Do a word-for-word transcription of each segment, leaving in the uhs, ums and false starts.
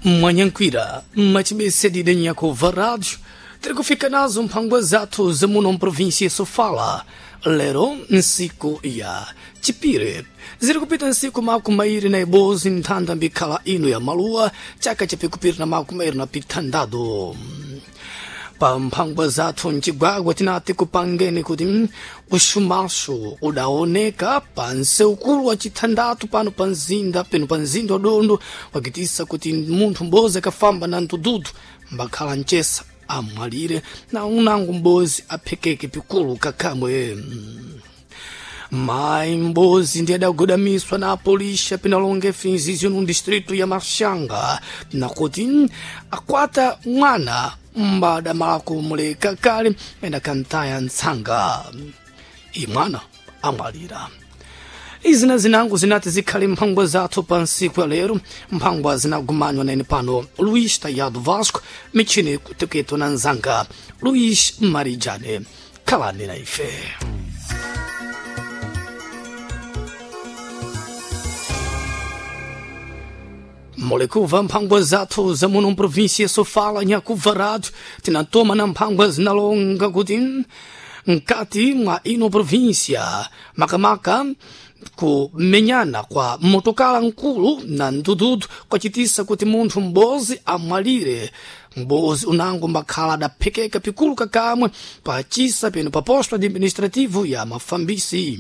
Mwanyankwira machibese nyakova rádio tirikufika nazo mphangwa zathu zamuno mprovinsia Sofala lero nsiku ya chipire ziri kupita nsiku makumi mairi na ibozi nthanda mbikhala ino ya maluwa chaka chapikupiri na makumi mairi na pithandatu. Pa mphangwa zathu mcigwagwa tinati kupangeni kuti uxumaxo udaoneka pa nseukulu wa chithandatu pano pa mzinda peno pa mzinda wa Dondo wakitisa kuti munthu m'bozi akafamba na mtududu mbakhala mcesa amwalire na unango m'bozi aphekeke pikulu kakhamwe. Mayi m'bozi ndi adagudamiswa na apolixa pinalonga finzizyo no distrito ya Maxanga nakuti akwata mwana mbadamala kumuleka kale enda kantaya ntsanga imwana amwalira. Izina zinango zinati zikhale mphangwa zathu pa nsiku ya lero, mphangwa zinagumanywa nene pano Luís Tayado Vasco, michini kuteketo na nzanga Luís Marijane. Khalani na ife. Molekuva mphangwa zathu zamuno mprovinsia Sofala nyakuva rádio tinatoma na mphangwa zinalonga kuti mkati mwa ino província makamaka kumenyana kwa motokala nkulu na ndududu kwacitisa kuti munthu m'bozi amwalire. M'bozi unango mbakhala adaphekeka pikulu kakamwe pacisa peno pa posto administrativo ya Mafambisi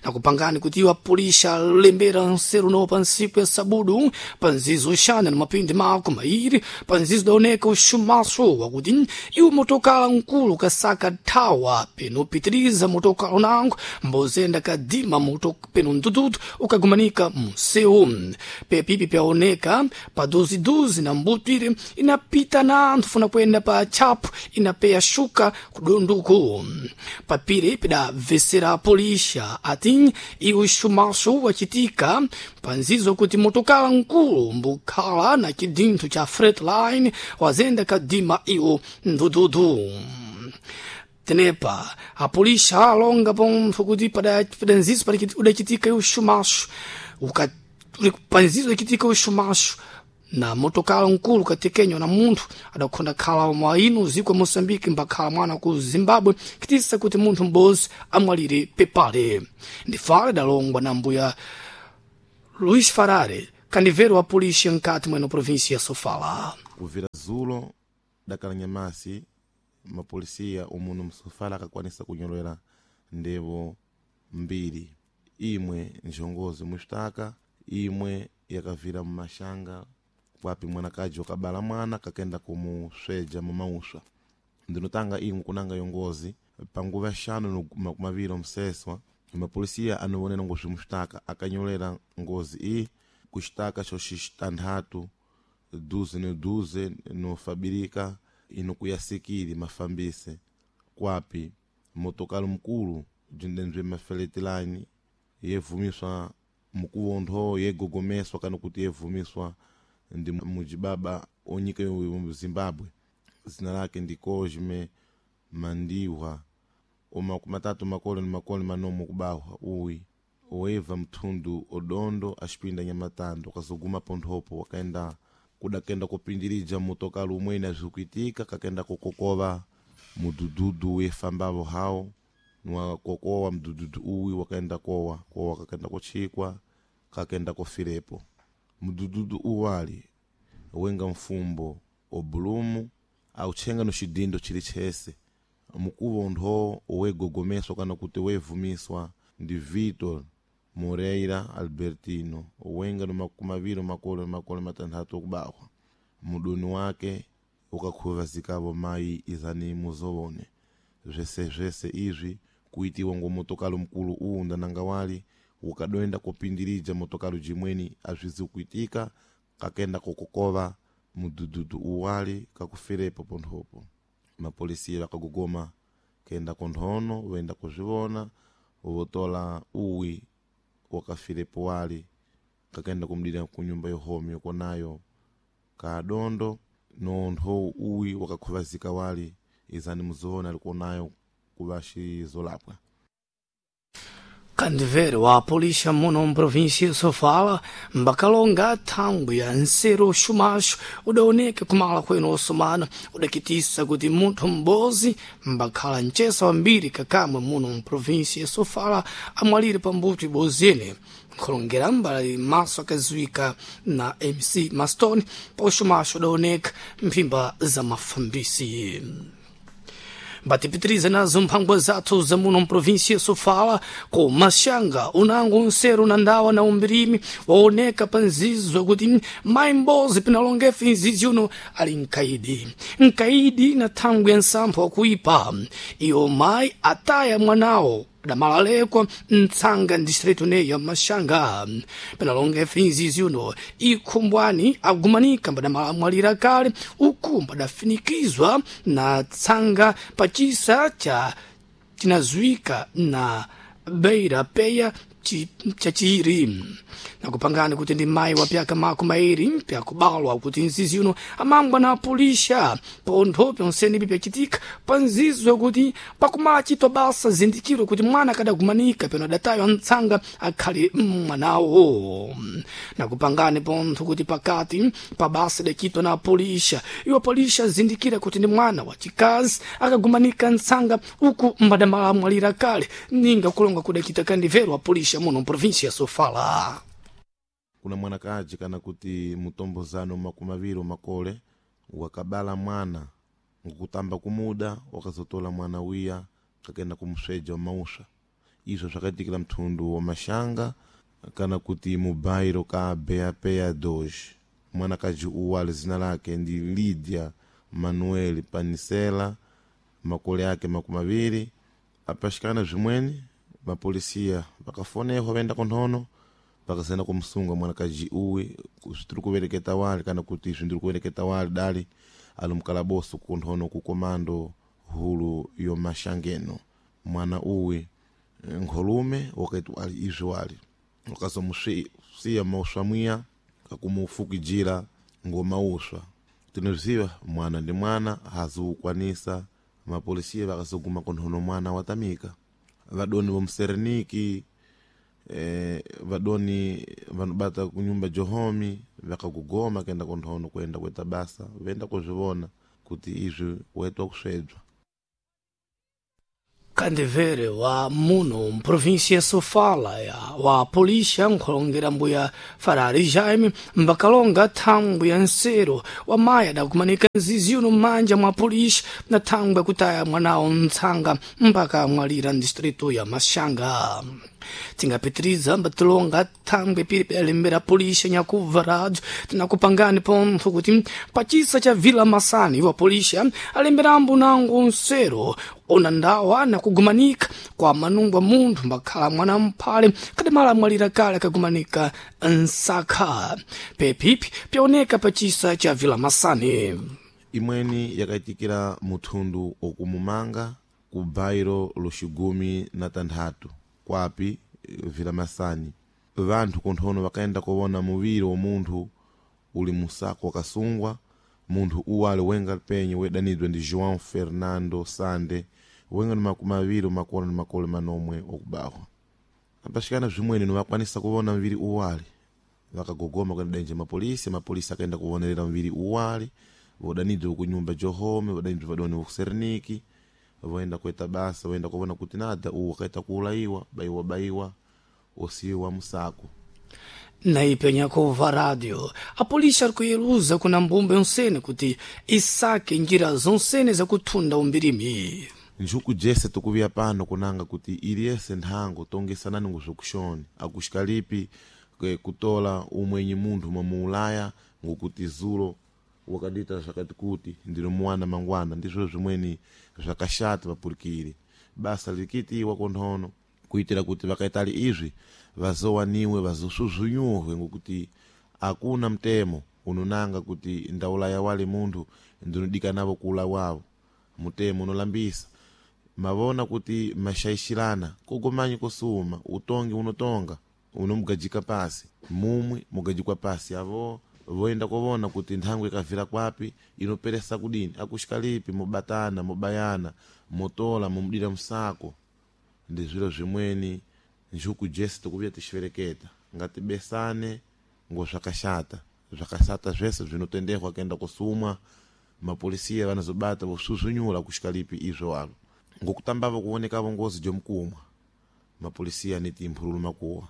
nakupangani kuti iwo apulisha alembera nseru no pa nsiku ya sabudu pa nzizo uxana na mapindi mako mairi pa nzizo daoneka uxumaso wakuti iwo motokala nkulu kasaka thawa peno pitiriza motokala unango mbozenda kadima moto peno ndududu ukagumanika munsewu pepipi pyaoneka pa duziduzi na mbutwire inapita na anthu funa kuyenda pa tchapu inapeya shuka kudonduku papire pidabvesera apolixa ati iwo xumaxo wacitika panzizo kuti motokala nkulu mbukhala na cidinthu cha Freightliner wazenda kadima iwo ndududu. Tenepa apolixa alonga pontho kuti padanzizo udacitika iwo xumaxo panzizo udacitika iwo xumaxo na motokala nkulu katekenywa na munthu adakhonda khala mwa ino ziko ya Moçambique mbakhala mwana ku Zimbabwe kitisa kuti munthu m'bozi amwalire pepale. Ndifale dalongwa na mbuya Luís Farare, kandivero wa polícia nkati mweno província ya Sofala. Kuvira zulo dakala nyamasi mapolisiya umuno msofala akakwanisa kunyolera ndevo mbiri, imwe njongozi muxitaka, imwe yakavira mumashanga kwapi mwanakaji wakabala mwana kakenda kumusweja mumauswa. Ndinotanga imwe kunanga yongozi panguva xanu makumaviri omseswa mapolisiya anowonera ngozi muxitaka akanyolera ngozi iyi kuxitaka xoxitanthatu duze no duze nofabirika inokuyasikili mafambise kwapi motokalo mkulu jindenzwe mafeletilani yevumiswa mukuwontho yegogomeswa kana kuti yevumiswa ndi mujibaba onyika yo Zimbabwe zina lake ndi Cosme Mandiwa omakumatatu makolo ni makolo manomo kubahwa uwi oeva mthundu odondo axipinda nyamatando kazoguma ponthopo wakaenda kudakenda kupindirija motokalo umwene azvikuitika kakenda kukokova mudududu wefambavo hawo niwakokowa mdududu uwi wakaenda kowa kowa kakenda kuchikwa kakenda kufirepo. Mdududu uwali wenga mfumbo obulumu auchenga no xidindo chili chese mukuvo ntho owegogomeswa kana kuti wevumiswa ndi Vitor Moreira Albertino owenga no makumaviri makolo makolo matanthatu okubahwa mudoni wake ukakhuvazikavo mayi izani muzowone zvese zvese izvi kuitiwa ngo motokalo mkulu uwu ndananga wali ukadoenda kupindirija motokalo jimweni azvizi kuitika kakenda kukokova mudududu uwali kakufirepo ponthopo. Mapolisiya vakagogoma kenda konthono wenda kuzvivona wotola uwi wakafirepo wali kakenda kumdira kunyumba yohomi yokonayo kadondo nontho uwi wakakhuvazika wali izani muzoona alikuonayo kuvaxi zolapwa. Kandivere wa polícia muno mprovíncia Sofala mbakalonga thangwi ya nseru xumaxo udaoneka kumala kwenu osomana udakitisa kuti munthu m'bozi mbakhala mcesa wambiri kakamwe muno mprovíncia Sofala amwalire pambuto ibozene nkhulongera mbali maso akaziwika na M C Maston pa uxumaxo udaoneka mphimba za mafambisi. Batipitiriza nazo mphangwa zathu za muno mprovíncia Sofala ku Maxanga unango nseru na ndawa na umbirimi waoneka pa nzizo kuti mayi mbozi pinalongefe nzizi uno ali mkaidi mkaidi na thangwi ya nsampho wakuipa iyo mayi ataya mwanawo damalalekwa mtsanga distrito neya Maxanga pinalongefe nzizi uno ikhumbwani agumanika mbadamalamwalira kale uku mbadafinikizwa na tsanga pachisa cha chinazuika na beira peya chachiri nakupangani kuti ndi mayi wa pyaka makumi mairi pyakubalwa kuti nzizi uno amangwa na apulisha pontho pyonsenipi pyachitika pa nzizo kuti pakumala chito basa zindikiro kuti mwana akadagumanika peno adataywa ntsanga akhale mwanawo nakupangani pontho kuti pakati pa basa idachitwa na apulisha iwo apulisha azindikira kuti ndi mwana wachikazi akagumanika ntsanga uku mbadamala amwalira kale ninga kulonga kudachita kandivero apulisha muno mprovíncia Sofala. Kuna mwanakaji kana kuti mutombozano makumi aviri makole wakabala mwana ngukutamba kumuda wakazotola mwana wiya kakenda kumusweja wa mausha. Izvo zvakaitikira mthundu wa Maxanga kana kuti mubairo ka Beapeya dois. Mwanakaji uwu ali zina lake ndi Lydia Manuel Panisela, makole ake makumi aviri. Apaxikana zvimweni mapolisiya vakafonehwa vaenda kunthono vakasena kumusunga mwanakaji uwi zvitiri kuvereketa wali kana kuti izvi ndiri kuvereketa wali dali ali mukalaboso kunthono ku komando hulu yo Maxangeno. Mwana uwi nkholume wakaiti ali izvi wali wakazomusiya mauswa mwiya kakumufukijira ngomauswa. Tinoziva mwana ndi mwana haziukwanisa. Mapolisiya vakazoguma kunthono mwana watamika. Vadoni vomusereniki eh, vadoni vanobata kunyumba johomi vakakugoma kenda kunthono kuenda kuita basa venda kuzvivona kuti izvi waitwa kusvedzwa. Kandivere wa muno mprovíncia Sofala ya wa polícia nkhulongera mbuya Farari Jaime mbakalonga thangwi ya nsero wa mayi adakumanika nzizi uno m'manja mwa polícia na thangwi yakutaya mwanawo ntsanga mpaka amwalira ndistrito ya Maxanga. Tingapitiriza mbatilonga thangwi pili pyalembera polícia nyakubva rádio tinakupangani pontho kuti pachisa cha Vila Masani wa polícia alemberambo nango nsero ona ndawa nakugumanika kwa manungwa munthu mbakhala mwana mphale kadamala amwalira kale akagumanika nsakha pepipi pyaoneka pachisa cha Vila Masani. Imweni yakaitikira muthundu okumumanga ku bairo loxigumi na tanthatu kwapi Vila Masani. Vanthu kunthono vakaenda kuwona muviri wa munthu uli musako wakasungwa. Munthu uwu ali wenga penye wedanidwa ndi João Fernando Sande wenga ni makumi aviri makolo ni makole manomwe okubahwa. Apaxikana zvimweni nivakwanisa kuwona muviri uwali vakagogoma kuenda denje mapolisi. Mapolisi akaenda kuvonerera muviri uwali vodanidwa kunyumba johome vodanidwa vadoni vokuseriniki voenda kuita basa voenda kuona kuti nada uwu wakaita kuulayiwa baiwa baiwa osiwa musako. Naipenya kuva rádio a polícia arikuyeluza kuna mbumba yonsene kuti isake njira zonsene zakuthunda umbirimi. Njuku jese tukuviya pano kunanga kuti iliyese nthango tongesanani nguzvokuxoni akuxikalipi kutola umwenyi munthu mwamuulaya ngokuti zulo wakadita zvakati kuti ndino muwana mangwana. Ndizvo zvimweni zvakashata vapurikiri basa likitiwa kunthono kuitira kuti vakaitali izvi vazowaniwe vazosvuzvunyuhwe ngokuti akuna mtemo unonanga kuti ndaulaya wali munthu ndinodikanavo kuulawavo. Mutemo unolambisa mavona kuti mashaishirana kogomanyi kosuma utongi unotonga unomugajika pasi mumwe mugajikwa pasi avo voenda kovona kuti nthango ikavira kwapi inoperesa kudini akuxika lipi mubatana mubayana mutola mumudira musako. Ndi zviro zvimweni Njuku jese tikuvya tixvereketa ngati besane ngo zvakaxata zvakaxata zvese zvinotendehwa kenda kusumwa mapolisiya vanazobata vosuzunyula kuxikalipi izvo alo ngokutambavo kuonekavo ngozi jomukumwa mapolisiya niti mphululu makuwa.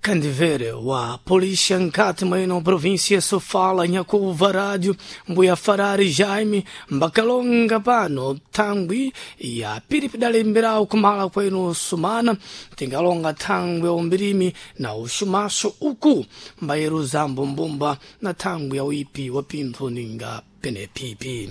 Kandivere wa polícia nkati mweno província Sofala nyakuva rádio mbuya Farari Jaime mbakalonga pano thangwi ya piripidalemberawo kumala kwenu sumana tingalonga thangwi ya umbirimi na uxumaxo uku mbayeru zambo mbumba na thangwi ya uipi wa pinthu ninga penepipi.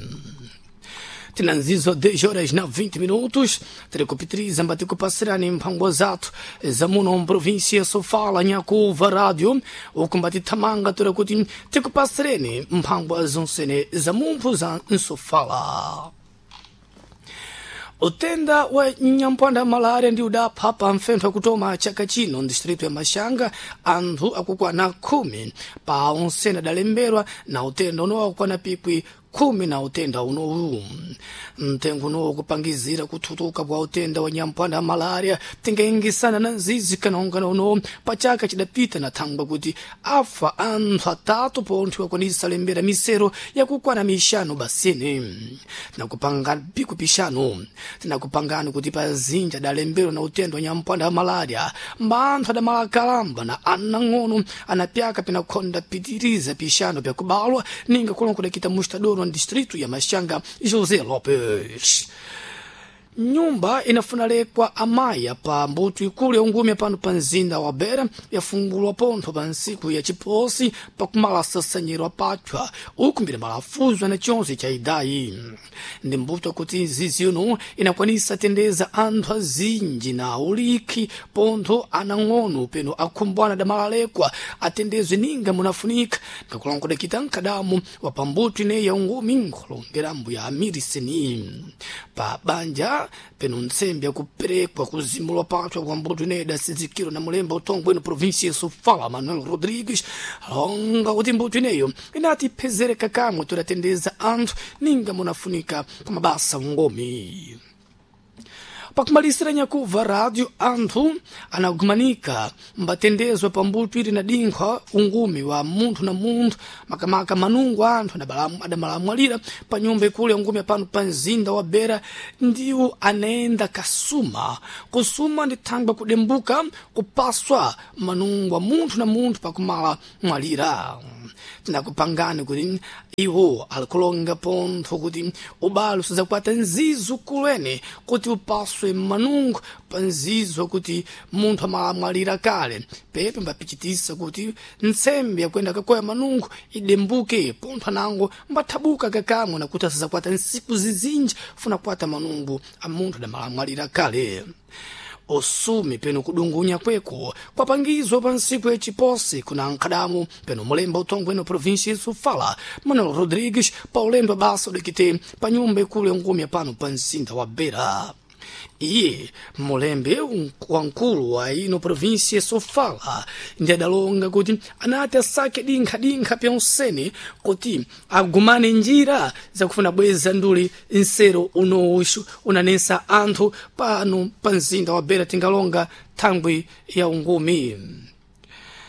Tinanzizo dez horas na vinte minutos, terekupitriza mbatikupasirani mphango zathu za muno província Sofala nyakuva rádio ukumbati thamanga tura kuti tikupasireni mphango zonsene za mumphu za Nsofala. Utenda wa nyampwanda malaria ndi udapha pa mfentho akutoma chaka chino ndistrito ya Maxanga anthu akukwana khumi pa onsene adalemberwa na utenda unowa kukwana pikwi khumi na utenda unowu. Mtengo unowu kupangizira kuthutuka kwa utenda wa nyampwanda malaria tingaingisana na nzizi kanongana unowu pa chaka chidapita na thangwa kuti afa anthu atatu pontho akwanisa lembera misero yakukwana mixanu basini. Tinakupanga piku pixanu tinakupangani kuti pazinja adalembera na utenda wa nyampwanda malaria mba anthu adamalakalamba na anang'ono anapyaka pinakhonda pitiriza pixanu pyakubalwa ninga kulongo kudakita mustadoro distrito ya Maxanga José Lopes. Nyumba inafuna lekwa amaya pa mbuto ikulu ya ungumi pano pa mzinda wa Beira yafungulwa pontho pa ntsiku ya chiposi pakumala sasanyiro apatwa uku mbiri malafuzwa na chonse cha idayi. Ndi mbuto kuti zizi uno inakwanisa tendeza anthu azinji na ulikhi pontho anang'ono peno akhumbwana damalalekwa atendezwe ninga munafunika ngakulongodekita mkadamu wa pambuto ineyi ya ungumi nkholongera mbuya amiriseni pa banja peno ntsembe yakuperekwa kuzimulwa patwa kwa mbuto ineyi sizikiro na mulemba utongwe ino província Sofala Manuel Rodrigues longa kuti mbuto ineyo inati phezereka kamwe todatendeza anthu ninga munafunika kwa mabasa ungomi. Pakumalisira nyakuva rádio anthu anagumanika mbatendezwa pambuto ili na dinkhwa ungumi wa munthu na munthu makamaka manungu anthu adamalamwalira pa nyumba ikulu ya ungumi pano pa mzinda wa Beira ndiwo anayenda kasuma kusuma ndi thangwa kudembuka kupaswa manungu wa munthu na munthu pakumala mwalira. Tinakupangani kuti iwo alikulonga pontho kuti ubalo sizakwata nzizo kulene kuti upaswe manungu pa nzizo kuti munthu amalamwalira kale pepe mbapichitisa kuti ntsembe yakwenda kakoya manungu idembuke pontho anango mbathabuka kakamwe nakuti asizakwata nsiku zizinji funa kwata manungu a munthu adamalamwalira kale. Osumi peno kudungunya kweko kwapangizwa pa ntsiku yachiposi kuna nkhadamu peno mulemba utongwe ino província ya Sofala Manuel Rodrigues pa ulendo wa basa udikite pa nyumba ikulu ya ngumi pano pa mzinda wa Beira. Iye mulembe wamkulu wa ino província Sofala ndi adalonga kuti anati asake dinkhadinkha pyonsene kuti agumane njira zakufuna bweza nduli nsero unowuxu unanensa anthu pano pa mzinda wa Beira tingalonga thangwi ya ungumi.